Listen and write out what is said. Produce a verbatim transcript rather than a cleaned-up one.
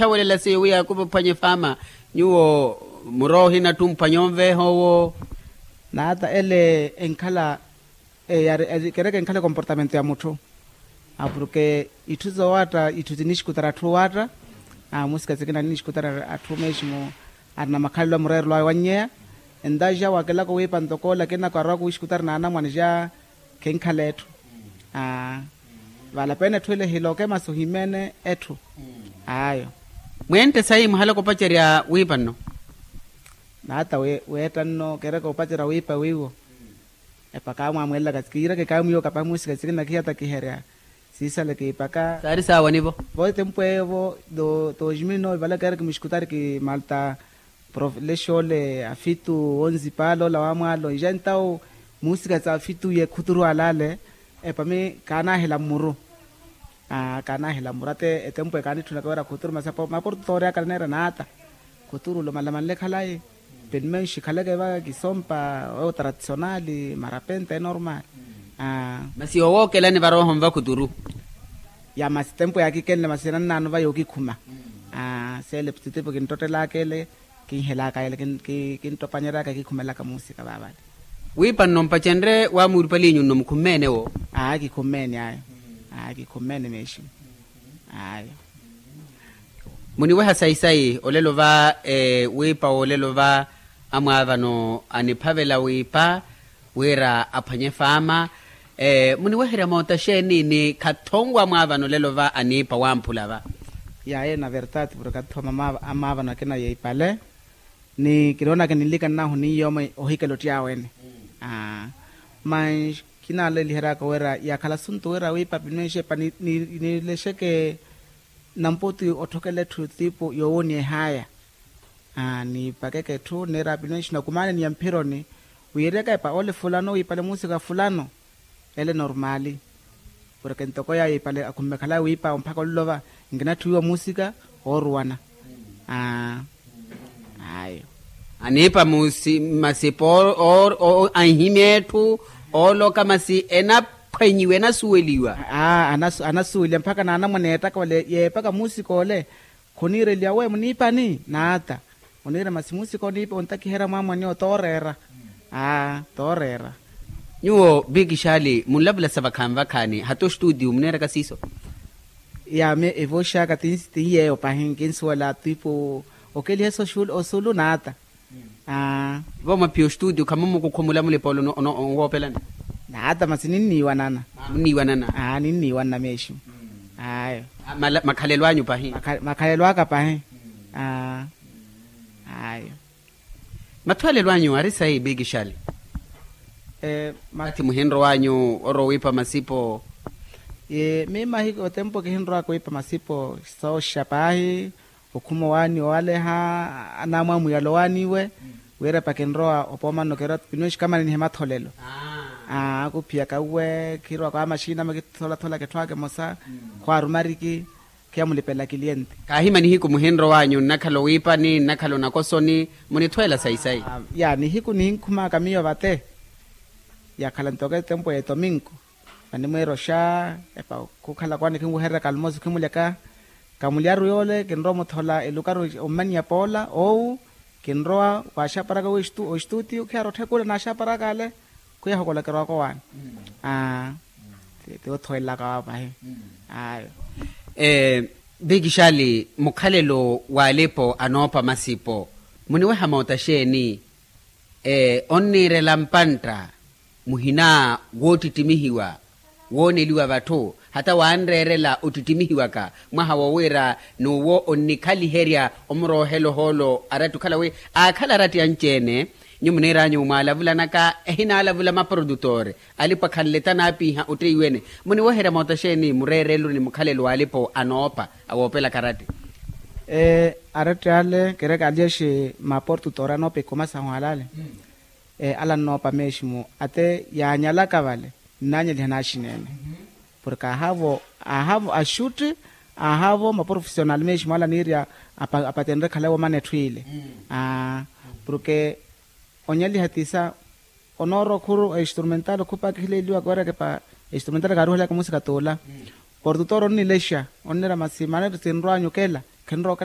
Thawelela seiyo wi yaakupa ophwanya efaama nyuwo muroohi natthu mphwanya onveeha owo. Naata ele enkhala kereke enkhala ekomportamento ya mutthu. Apuruke itthu zoowaatta itthu tinixikutara atthu owaatta. Amusika sikina ninixikutara atthu meeximu arina makhalelo amureerelo awe wannyeya. Entaxa wakelaka owiipa ntoko lakini ako arowaka owixikutari na anamwane xa khenkhala etthu. Aa, valapene etthu ele hilokemasi ohimeene etthu. Ayo. Mwente sayi muhalaka opacerya wiipa nno? Naata weetta nno kereke opacerya wiipa wiiwo. Epaka amwamwelelaka kiireke kaamwiiwo kapahi muusika sikina kihiyatakiherya. Siisale kiipaka saari saawa nivo. Vo etempu eyo vo dos mil nove vale kereke muxikutari kimalta profelexa ole afitu onzipala ola wamwaalo nja entawo muusika sa afitu ye khuturu alale. Epami kaanahela mmuru. Kaanahela mmuru ate etempu ekaanitthunaka wira khuturu masi maportutoori akala neera naata. Khuturu olomalama nlekhalayi. Penimenxi khaleke vaka kisompa owo tradisionali marapenta enormal. Masi owookelani varooho nva khuturu. Ya masi tempu yaakikenle masi enannaano va yookikhuma. Seele putitipu kinttottelaka ele kinhelaka ele kinttopanyeryaka kikhumelaka muusika vaavale. Wiipa nno mpacenrye waamuuripalinyu nno mukhummeenewo. Aa kikhummeenye ayo. Aa kikhummeenye meeximu. Ayo. Muniweha sayi-sayi olelo va wiipa wolelo va amwaavano aniphavela wiipa wira aphwanye faama. Muniweherya moota xeeni ni khathonwa amwaavano olelo va aniipa wamphula va. Yaye na vertati purke athooma amaavano akina yeipale. Ni kinoonaka ninlika nnahu ni yooma ohikela ottiyaawe-ene. Aa, mas kinaaleliheryaka wira yaakhala asuntu wira wiipa pinweexepa nilexeke namputi otthokela etthu tiipu yoowoniyehaya. Aa niipakeke etthu nneera pinweexi nakumaaneni ya mphironi. Wiiryaka epa ole fulano wiipale muusika fulano. Ele normali. Porke ntoko yaayo ipale akhumme khalaya wiipa omphaka olulova nkinatthiwiwa muusika ooruwana. Aa ayo. Aniipa masipo anhimya etthu ooloka masi enaphwenyiwa enasuweliwa. Aa anasuweliwa mpaka naanamwane yeettaka ole yeepaka muusika ole. Khuniireliwa we muniipani naata. Oniira masi muusika oniipa ontakiherya mwaamwani owo tooreera. Aa tooreera. Nyuwo bikixali munlavula sa vakhaani vakhaani hata ostuutiyu muneeraka siiso. Yaame evo xaaka tinyeeyo pahi nkinsuwela twiipu okeliha eso osulu naata. Aa vo mwaphiya ostuutiyu khamummukukhu mulamula epoolo onwoopelani. Naata masi ninniiwanana. Aa munniiwanana. Aa ninniiwanana meeximu. Ayo. Makhalelo anyu pahi. Makhalelo aka pahi. Aa ayo. Mathwaalelo anyu ari sayi bikixali. Mati muhinrow'anyu orowa owiipa masipo. Mimahi otempo kihinrowaka owiipa masipo. Sooxa paahi okhuma owaani owaleha. Anamwa mwiyalo owaaniwe wira epa kinrowa opoomano kira pinwexikamani nihe matholelo. Akuphiyaka uwe khirowaka wa maxina makitholathola kethwaka emosa. Khwaarumariki. Khiya mulipela kiliente. Kaahima nihiku muhinrow'anyu nnakhala owiipani nnakhala onakosoni. Munithweela sayi-sayi. Ya nihiku nihinkhumaka miyo vate. Yakhala ntoke tempo ya etominku. Vanimweera oxa epa khukhala kwani khinwehererya kalmosi khimuleka. Kamulyaru yoole kinrowa omuthola elukaru ommanyiya poola owu. Kinrowa waaxaparaka oxtuutiyu khiyara otthekula naaxaparaka ale. Khwiya hokolokeriwaka owaani. Aa tiwothowelela kawapahi. Ayo. Vikixali mukhalelo w'alipo anoopa masipo muniweha moota xeeni? Onniirela mpantta muhina woottittimihiwa wooneliwa vatthu hata wanreerela ottittimihiwaka mwaha wo wira n'uwo onnikhaliherya omuroohela ohoolo aratti okhala wi aakhala aratti anci-ene. Nyu muniir'anyu mwalavulanaka ehinaalavula maprodutor alipo akhanleta anaapiiha otteiwene. Muniweherya moota xeeni mureereluni mukhalelo w'alipo anoopa awoopelaka aratti? Aratti ale kereke aliyexi maportutor anoopa ikuma sahu alale. Ale annoopa meeximu ate yaanyalaka vale nnaanyaliha naaxinene. Porke ahavo ahavo axutti ahavo maprofesional meeximu ale aniirya apatenre khalayi womana etthu ile. Porke onyaliha tisa onoora okhuru a instrumental okhupa kihileliwaka wira ekepa instrumental kaaruhelaka musika tuula. Portutor onnilexa onniira masi manetti sinrw'anyu okela khinrowa okela.